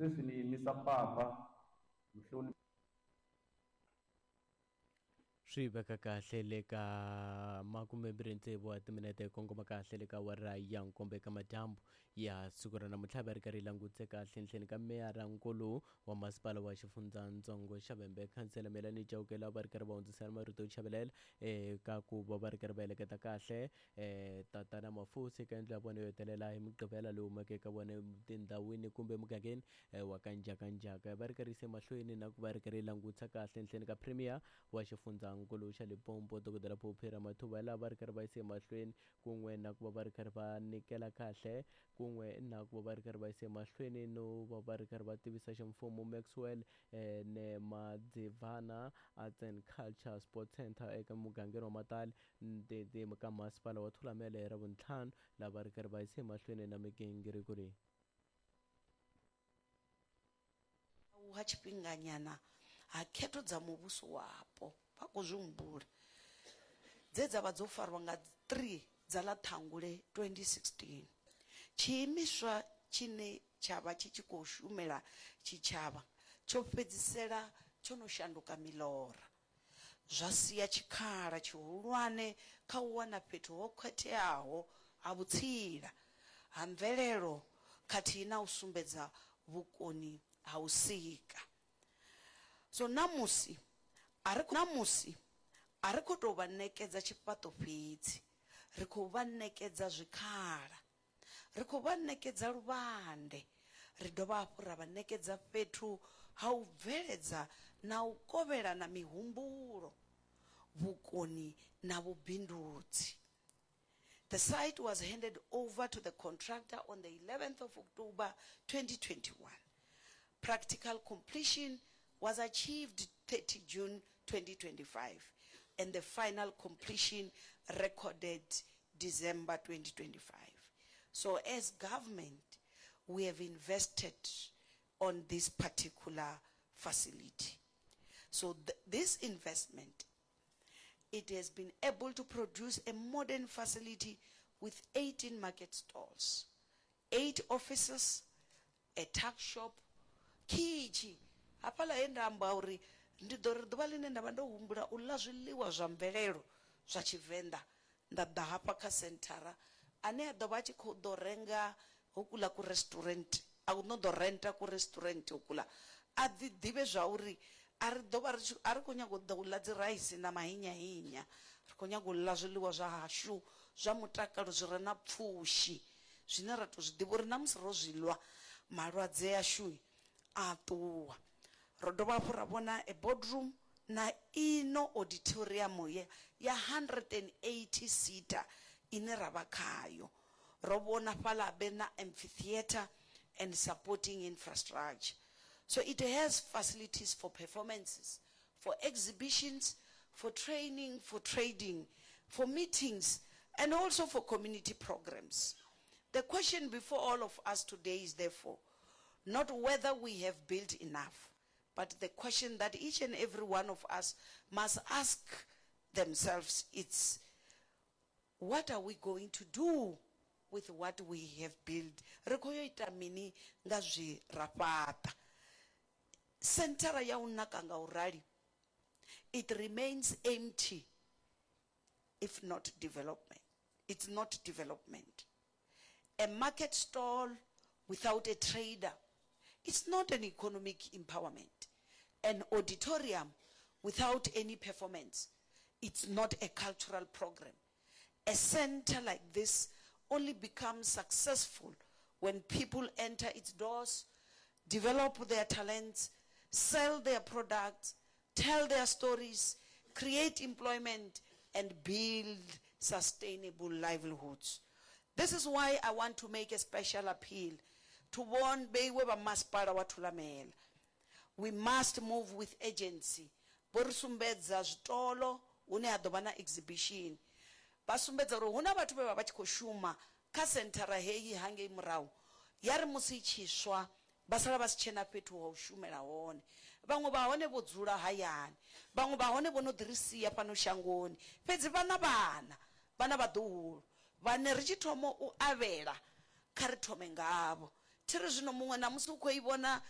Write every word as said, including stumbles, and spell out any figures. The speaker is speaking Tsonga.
Sweswi ni yimisa papa, muhloni. Swi veka kahle le ka makumembirhi tsevu wa timinete, kongoma kahle le ka awara ya nkombo eka madyambu ya siku ra namuntlha. Va ri karhi langutse kahle nhleni ka meyara nkulu wa masipala wa xifundzatsongo xa Vhembe, khansela Melani Chauke, va ri karhi va hundzisela marito yo chavelela eka ku va va ri karhi va heleketa kahle um tatana Mafusi eka yindlu ya vona yo hetelela hi Mugqivela lowu humaka eka vona tindhawini kumbe emugangeni wa ka Njhakanjhaka. Va ri karhi yise mahlweni na ku va ri karhi langutisa kahle nhleni ka premier wa xifundzankulu xa Limpopo, Dokodela Phophi Ramathuba, laha va ri karhi va yise mahlweni kun'we na ku va va ri karhi va nyikela kahle kun'we na ku va va ri karhi va yise mahlweni no va va ri karhi va tivisa ximfumo Maxwell eh, Nemadzivhana Arts and Culture Sports Center eka mugangeni wa Matali ka masipala wa Thulamele hi Ravuntlhanu, laha va ri karhi va yise mahlweni na migingiriko leyi. Ha tshifhinganyana ha khetho dza muvhuso wapo, vha khou zwi humbula, dze dza vha dzo farwa nga three dza ḽa Ṱhangule twenty sixteen. Tshiimiswa tshine tsha vha tshi tshi khou shumela tshitshavha tsho fhedzisela tsho no shanduka milora, zwa sia tshikhala tshihulwane kha u wana fhethu ho khetheaho ha vhutsila ha mvelelo khathihi na u sumbedza vhukoni ha u sika. So namusi a ri namusi a ri khou tou vha ṋekedza tshifhaṱo fhedzi, ri khou vha ṋekedza zwikhala, ri khou vha ṋekedza luvhande, ri dovha hafhu ra vha ṋekedza fhethu ha u bveledza na u kovhelana mihumbulo, vhukoni na vhubindudzi. The site was handed over to the contractor on the eleventh of October twenty twenty-one. Practical completion was achieved thirty June twenty twenty-five, and the final completion recorded December twenty twenty-five. So as government, we have invested on this particular facility. So th- this investment, it has been able to produce a modern facility with eighteen market stalls, eight offices, a tuck shop, khitshi hafhaḽa he nda amba uri ndi ḓo ri ḓuvha ḽine nda vha ndo humbula u ḽa zwiḽiwa zwa mvelelo zwa Tshivenḓa, nda ḓa hafha kha senthara, ane a ḓo vha a tshi khou ḓo renga hokula ku restaurant, a no ḓo renta ku restaurant hokula, a ḓi ḓivhe zwa uri a ri ḓo vha ri tshi a ri khou nyaga u ḓa u ḽa dzi raisi na mahinyahinya, ri khou nyaga u ḽa zwiḽiwa zwa hashu zwa mutakalo zwi re na pfushi, zwine ra to zwi ḓivha uri na musi ro zwi ḽwa malwadze ashu a ṱuwa. Ro dovha hafhu ra vhona a boardroom na ino auditorium ya, ya hundred and eighty seater ine ra vha khayo. Ro vhona fhaḽa habe na amphitheater and supporting infrastructure. So it has facilities for performances, for exhibitions, for training, for trading, for meetings, and also for community programs. The question before all of us today is therefore not whether we have built enough, but the question that each and every one of us must ask themselves is, what are we going to do with what we have built? Ri khou yo ita mini nga zwe ra fhaṱa? Senthara ya u naka nga u rali, it remains empty if not development. It's not development. A market stall without a trader, it's not an economic empowerment. An auditorium without any performance, it's not a cultural program. A center like this only becomes successful when people enter its doors, develop their talents, sell their products, tell their stories, create employment, and build sustainable livelihoods. This is why I want to make a special appeal to warn vheiwe vha masipala wa Thulamela. We must move with urgency. Vho ri sumbedza zwitolo hune ha ḓo vha na exhibition. Vha sumbedza uri hu na vhathu vhe vha vha tshi khou shuma kha senthara heyi hangei murahu. Ya ri musi i tshi swa, vha sala vha si tshena fhethu ha u shumela hone. Vhaṅwe vha hone vho dzula hayani, vhaṅwe vha hone vho no ḓi ri sia fhano shangoni. Fhedzi vha na vhana, vha na vhaḓuhulu, vhane ri tshi thoma u avhela kha ri thome ngavho. Thi ri zwino muṅwe na musi u khou i vhona